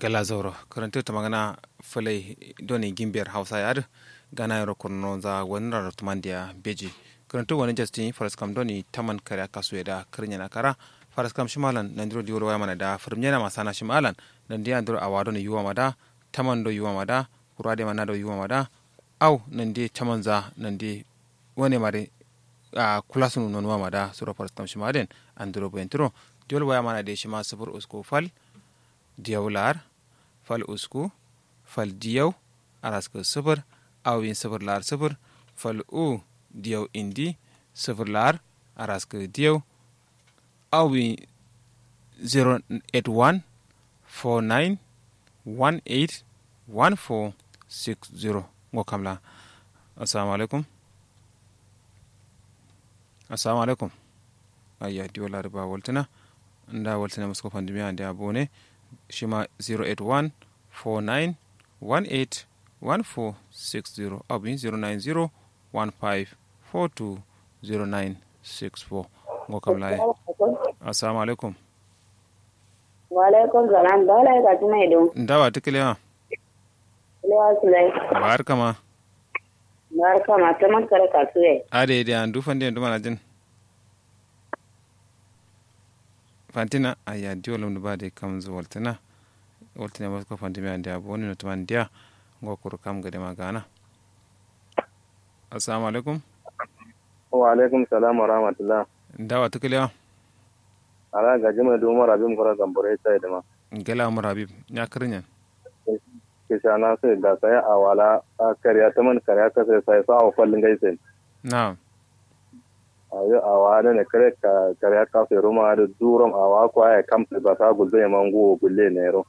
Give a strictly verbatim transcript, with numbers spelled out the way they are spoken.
Gala zauro kǝrǝntǝ tǝmangǝna fǝlai done gimbiyar hausa ye adǝ gana yero kurno nza wanǝ raro tǝmandiya beji. Kǝrǝntǝ wanǝ jastin faraskam done taman kare akasu ye da kǝrǝnyena kara. Faraskam shimalan nandiro diwol wayamana da fǝrǝmnyena masana shimalan nandi andiro awa done yuwama da taman do yuwama da kura de mana do yuwama da. Au nandi taman za nandi wane mare. A kulasunu nonuwama da suro faraskam shima den andiro boyentǝro. Diwol wayamana de shima sǝfur usku fal diyau la'ar fal usku fal diyau araskǝ sǝfur. Awin sǝfur la'ar sǝfur fal u diyau indi sǝfur la'ar araskǝ diyau. Awin zero eight one four nine one eight one four six zero. Ngo kamla. Assalamu alaikum. Assalamu alaikum. Ayya diwo lari ba waltǝna nda waltǝna musko fandimiya nda bone. Shima zero eight one four nine one eight one four six zero abin zero nine zero one five four two zero nine six four. Ngo kam laye. Assalamu alaikum. Wa alaikum salam ba lai ka tuna ido. Nda wa tukile ma. Lewa sulai. Ba har kama. Ba har kama ta man kare ka suye. Ade ide an dufan de duma na jin. Fantina ayya diwo lum ba de kam zu waltina. Waltina ba ko fantimi ande abo ni no tuman dia. Ngo kuru kam gade ma gana. Assalamu alaikum. Wa alaikum salam wa rahmatullah. Nda wa tukile wa. Ala gaji mai du umar habib kura gambore sai dama. Gala umar habib nya kirinyan. Kishana sai da sai awala. Kariya taman kariya ka sai sai sa wa fallin gai sai. Na'am. Ayo awa da ne kare ka kare ka sai ruma da durom awa ko ai kam sai ba sa gulbe mangu gulle ne ro.